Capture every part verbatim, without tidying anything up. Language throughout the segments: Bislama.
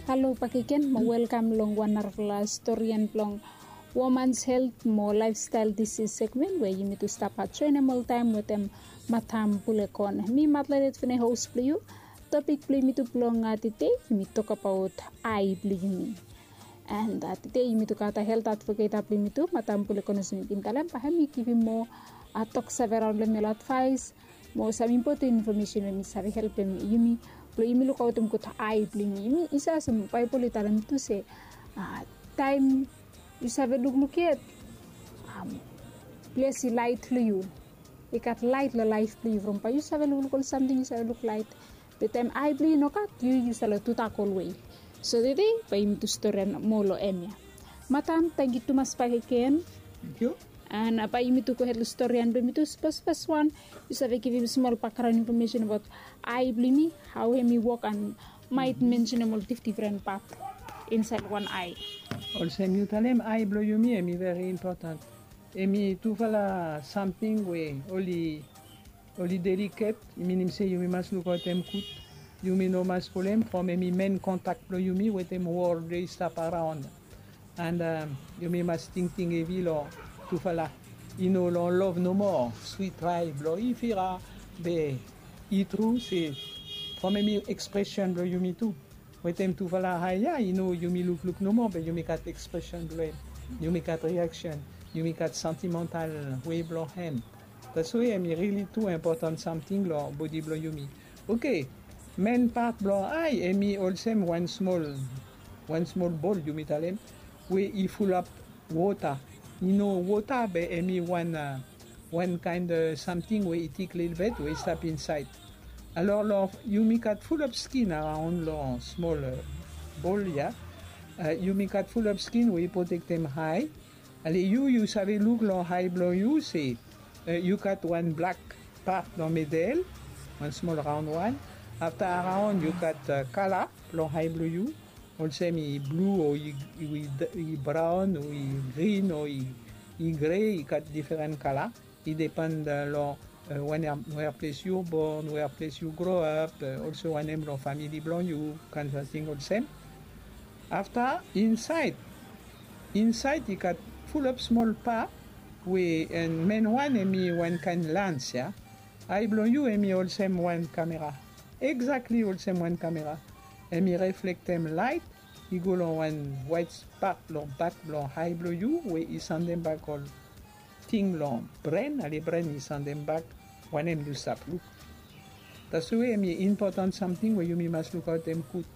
Halo bakegen mo welkam long wan narafala storian blong womans helt mo laefstael disis segmen we yumi tu stap joenem oltaem wetem matam bulekon. Mi matlalet fene hos blong yu. Topik blong yumi tu blong tede yumi tokabaot ai blong yumi. And tede yumi tu gat helt advoketa blong yumi tu matam bulekon olsem yumi bin talem bae hem i givim moa toksave raon long em ol advaes mo sam impoten infomesen we mi save helpem yumi blong yumi lukaotem gud ai blong yumi. Yumi i save olsem baebol i talem tu se taem yu save lukluk yet, ples i laet long yu. I gat laet long laef blong yu from bae yu save lukluk ol samting yu save luk laet. Be taem ai blong yu i no gat yu yu save long tudak olwe. So tede bae yumi tu storian moa long em ya. Matam tangkiu tumas bakegen. Tangkiu. And bae yumi tu gohed long storian blong yumi tu. Spes fes wan yu save givim smol bakgraon infomesen abaot ai blong yumi, hao hem i wok and maet mensenem ol difdifren pat insaed wan ai. Olsem yu talem ai blong yumi hem i veri impoten. Hem i tufala samting we oli oli deliket. I minim se yumi mas lukaotem gud. Yumi no mas pulem from hem i men kontak blong yumi wetem wol we i stap araon. And yumi mas tingting hevi long tufala i no long lov nomo swit ai blong i fira. Be i tru se from hem i ekspresen blong yumi tu wetem tufala ai ya i no yumi lukluk nomo be yumi gat ekspresen blong hem. Yumi gat riaksen. Yumi gat santimantal we blong hem. Taswe hem i rili tu impoten samting long bodi blong yumi. Oke. Men pat blong ai hem i olsem wan smol wan smol bol yumi talem we i fulap wota. I no wota be hem i wan wan kaen samting we i tik lelebet we i stap insaed. Alor long yumi gat fulap skin araon long smol bol ya. Yumi gat fulap skin we i protektem ai. Ale yu yu save luk long ai blong yu se yu gat wan blak pat long medel, wan smol raon wan. Afta araon yu gat kala long ai blong yu, olsem i blu o i braon o i grin o i gre, i gat diferen kala. I depan long where ples yu bon, where ples yu gro ap, olso wanem long famili blong yu, kaen samting olsem. Afta insaed insaed i gat fulap smol pa we en men wan hem i wan kaen lans ya. Ai blong yu hem i olsem wan kamera. Eksakli olsem wan kamera. Hem i reflektem laet i go long wan waet spat long bak blong ai blong yu we i sandem bak ol ting long bren, ale bren i sandem bak wanem yu stap luk. Taswe hem i impoten samting we yumi mas lukaotem gud.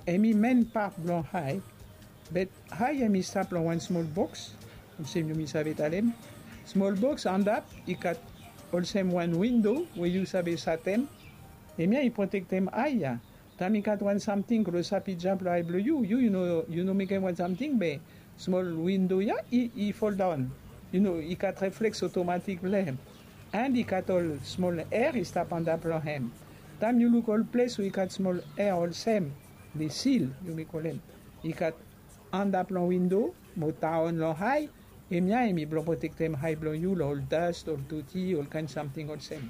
Hem i men pat blong ai. Be ai hem i stap long wan smol boks olsem yumi save talem. Smol boks antap i gat olsem wan windo we yu save satem. Hem ya i protektem ai ya. Taem i gat wan samting klosap i jam long ai blong yu, yu yu no mekem wan samting be smol windo ya i foldaon. I gat refleks otomatik blong hem. And i gat ol smol er i stap antap long hem. Taem yu luk ol ples we i gat smol er olsem, le sil yumi kolem, i gat antap long windo mo daon long ai. Hem ya hem i blong protektem ai blong yu long ol das, ol doti, ol kaen samting olsem.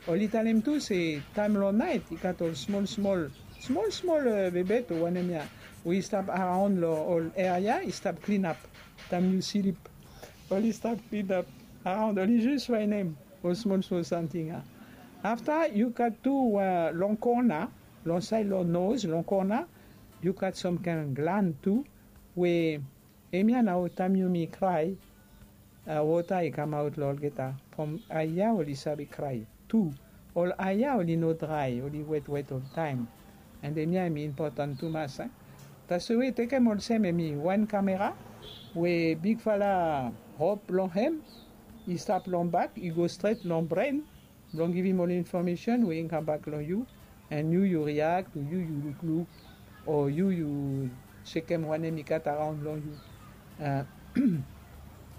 Oli talem tu se taem long naet i gat ol smol smol smol smol bebet o wanem ya we i stap araon long ol er ya i stap klinap. Taem yu slip oli stap klinap araon, oli jis faenem ol smol smol samting ya. Afta yu gat tu long kona, long saed long noz, long kona, yu gat sam kaen glan tu we hem ya nao taem yumi krae, wota i kamaot long olgeta from ai ya oli save krae tu. Ol ai ya oli no drae, oli wetwet oltaem. And hem ya hem i impoten tumas. Taswe tekem olsem hem i wan kamera we bigfala rop blong hem i stap long bak i go stret long bren blong givim ol infomesen we i kambak long yu. And yu yu riak o yu yu lukluk o yu yu sekem wanem i gat araon long yu.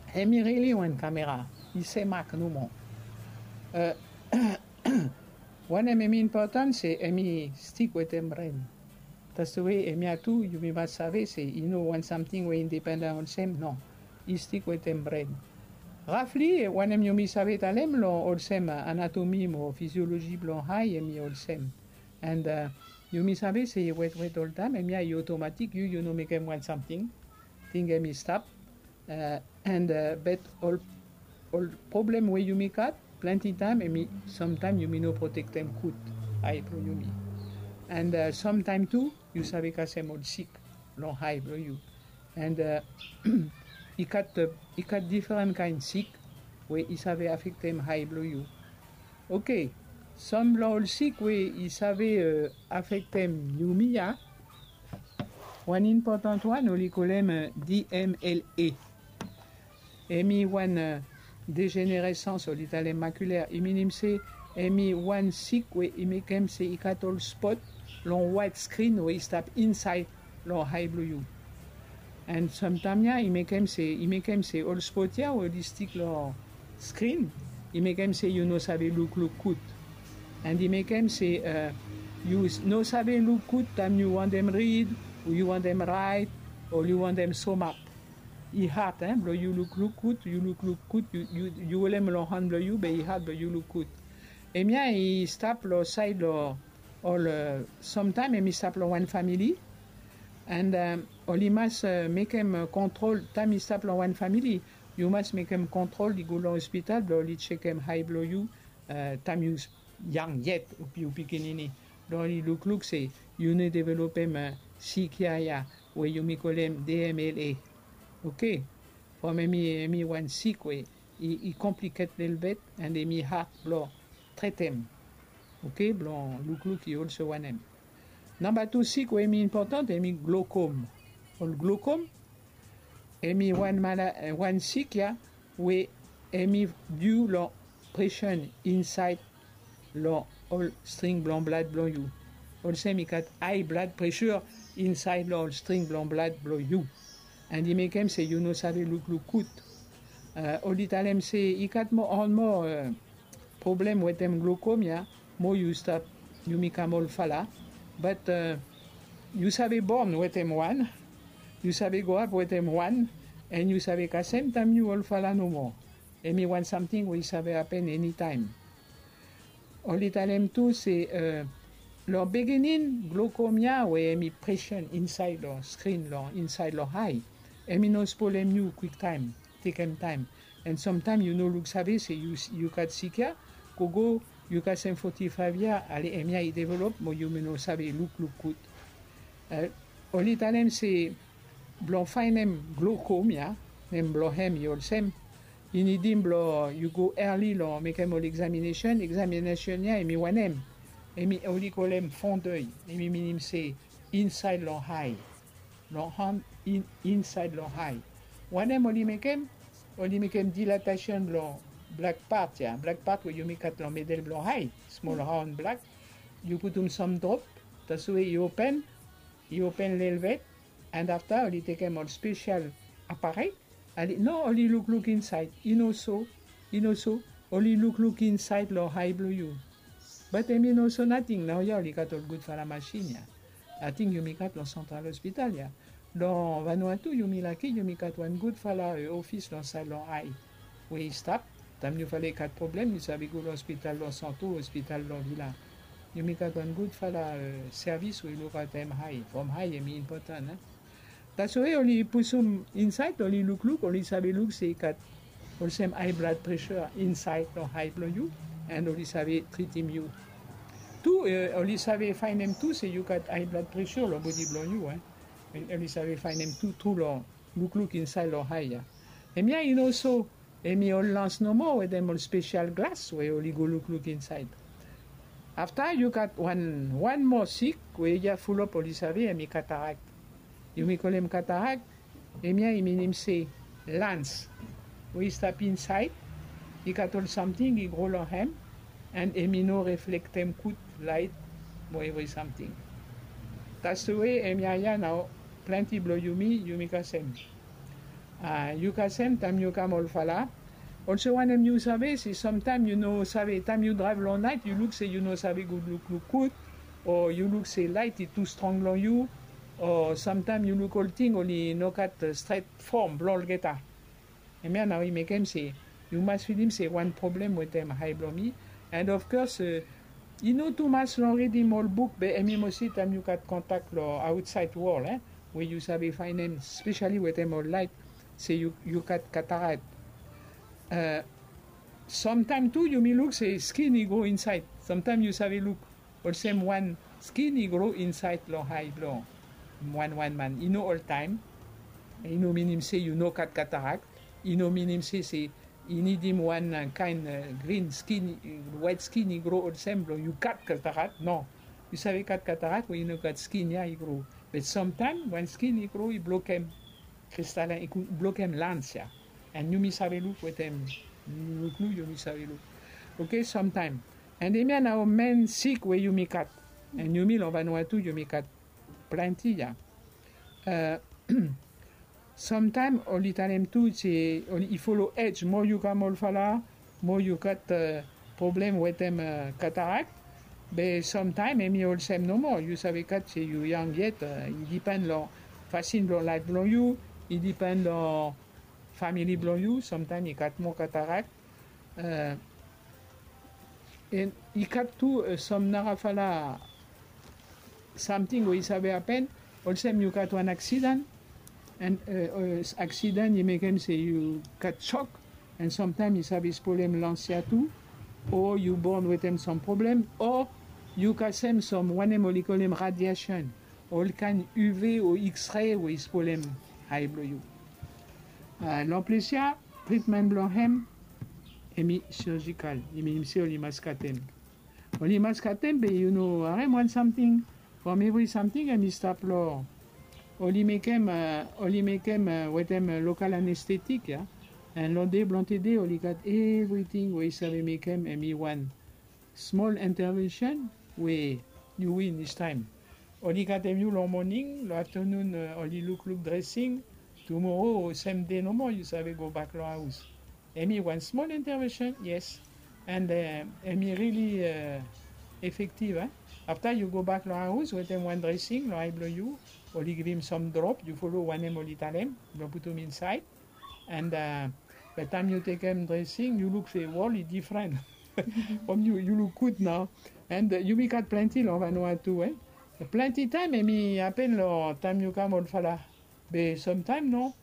Hem i rili wan kamera, i semak nomo. Wanem hem i impoten se hem i stik wetem bren. Taswe hem ya tu yumi mas save se i no wan samting we independen olsem, no. I stik wetem bren. Rafli wanem yumi save talem long olsem anatomi mo fizioloji blong ai hem i olsem. And Yumi save se i wetwet oltaem, hemia i otomatik, yu yu no mekem wan samting, ting hemi stap. An bet ol ol problem we yumi gat, plante taem hemi, samtaem yumi no protektem gud ae blong yumi. An samtaem tu yu save kasem ol sik long ae blong yu. An i gat i gat diferan kaen sik we i save afektem ae blong yu. Oke, sam blong ol sik we i save afektem yumi ya. Wan impotan wan oli kolem D M L A. Hemi wan dejeneresans oli talem makuler, i minim se hemi wan sik we i mekem se i gat ol spot long waet skrin we i stap insaed long ae blong yu. An samtaem ya i mekem se i mekem se ol spot ya we oli stik long skrin, i mekem se yu no save lukluk gud. An i mekem se yu no save luk gud taem yu wantem rid, o yu wantem raet, o yu wantem somak. I had blong yu lukluk gud, yu lukluk gud, yu holem long han blong yu be i had blong yu luk gud. Hemia i stap long saed long ol, samtaem hemi stap long wan famili. An oli mas mekem kontrol taem i stap long wan famili. Yu mas mekem kontrol i go long ospital blong oli jekem ae blong yu taem yu yang yet, yu pikinini, blong oli lukluk se yu no developem sik ya ya we yumi kolem D M L A. Oke. From hemi hemi wan sik we i kompliket lelebet an hemi had blong tretem. Oke, blong lukluk i olso wanem. Namba tu sik we hemi impotan hemi glokom. Ol glokom hemi wan mala wan sik ya we hemi diu long presion insaed long ol string blong blad blong yu. Olsem i gat ae blad presio insaed long ol string blong blad blong yu. An i mekem se yu no save lukluk gud. Oli talem se i gat moa on moa problem wetem glokom ya. Mo yu stap yumi kam ol fala, bat yu save bon wetem wan, yu save go ap wetem wan, an yu save kasem taem yu ol fala nomo. Hemi wan samting we i save apen enitaem. Oli talem tu se long biginin glokom ya we hemi presion insaed long skrin long insaed long ae, hemi no spolem yu kwiktaem, tekem taem. An samtaem yu no luksave se yu gat sik ya, gogo yu kasem foti faev yia ale hemia i develop mo yumi no save lukluk gud. Oli talem se blong faenem glokom ya, nem blong hem i olsem, i nidim blong yu go earli long mekem ol egzamineson. Egzamineson ya hemi wanem? Hemi oli kolem fondei, hemi minim se insaed long ae, long han, insaed long ae. Wanem oli mekem? Oli mekem dilatasion blong blak pat ya, blak pat we yumi gat long medel blong ae, smol raon blak. Yu putum sam drop, taswe i open, i open lelebet. An afta oli tekem ol spesial aparei. Ali no, oli lukluk insaed. I no so, i no so. Oli lukluk insaed long ae blong yu. Bat hemi no so nating, naoia oli gat ol gudfala masin ya. Ating yumi gat long santral ospital ya. Long Vanuatu yumi laki yumi gat wan gudfala ofis long saed long ae we i stap. Taem yu fala i gat problem yu save go long ospital long santo, ospital long vila. Yumi gat wan gudfala sevis we i lukaotem ae from ae hemi impotan. Taswe oli pusum insaed, oli lukluk, oli save luk se i gat olsem ae blad presio insaed long ae blong yu. An oli save tritim yu tu. Oli save faenem tu se yu gat ae blad presio long bodi blong yu. Oli save faenem tu tru long lukluk insaed long ae ya. Hemia i no so, hemi ol lans nomo wetem ol spesial glas we oli go lukluk insaed. Afta yu gat wan wan moa sik we i fulap oli save, hemi katarak. Yumi kolem katarak. Hemia i minim se lans we i stap insaed, i gat ol samting i gro long hem, an hemi no reflektem gud laet mo evri samting. Taswe hemia ya nao plante blong yumi yumi kasem. Yu kasem taem yu kam ol fala. Olso wanem yu save se samtaem yu no save, taem yu draev long naet yu luk se yu no save gud lukluk gud, o yu luk se laet i tu strong long yu, o samtaem yu luk ol ting oli no gat stret fom blong olgeta. Hemia nao i mekem se yu mas filim se wan problem wetem ae blong mi. An ofkos I no tumas long ridim ol buk be hemi mosi taem yu gat kontak long aotsaed wol e, we yu save faenem spesiali wetem ol laet se yu gat katarak. Samtaem tu yumi luk se skin i gro insaed. Samtaem yu save luk olsem wan skin i gro insaed long ae blong wan wan man. I no oltaem. I no minim se yu no gat katarak. I no minim se se i nidim wan kaen grin skin, waet skin i gro olsem blong yu gat katarak. No. Yu save gat katarak we i no gat skin ya i gro. Be samtaem wan skin i gro i blokem kristalin, i blokem lans ya. An yumi save luk wetem luklu yumi save luk. Oke, samtaem. An hemia nao men sik we yumi gat. An yumi long vanua tu yumi gat plante ya. Samtaem oli talem tu se oli i folo ej, moa yu kam olfala, moa yu gat problem wetem katarak. Be samtaem hemi olsem nomo, yu save gat se yu yang yet. I dipen long fasin blong laef blong yu, i dipen long famili blong yu. Samtaem i gat moa katarak. An i gat tu sam narafala samting we i save hapen. Olsem yu gat wan aksidan, an aksidan i mekem se yu gat sok, an samtaem i save spolem lans ya tu, o yu bon wetem sam problem, o yu kasem sam wanem oli kolem radiasen, ol kaen uv o x-ray we i spolem ae blong yu. Long ples ya tritmen blong hem hemi serjikal, i minim se oli mas katem. Oli mas katem be yu no harem wan samting from evri samting hemi stap long. Oli mekem oli mekem wetem lokal anestetik ya. An long dei blong tede oli gat evriting we i save mekem hemi wan smol entevensen we yu win istaem. Oli katem yu long moning, long aftenun oli lukluk dresing. Tumoro o sem dei nomo yu save gobak long haos. Hemi wan smol entevensen, yes. An hemi rili efektiv. Afta yu gobak long haos wetem wan dresing long ae blong yu, oli givim sam drop, yu folo wanem oli talem blong putum insaed. An be taem yu tekem dresing yu luk se wol i difren. From yu yu luk gud nao. An yumi gat plante long vanua tu e. Plante taem hemi hapen long taem yu kam olfala. Be samtaem no.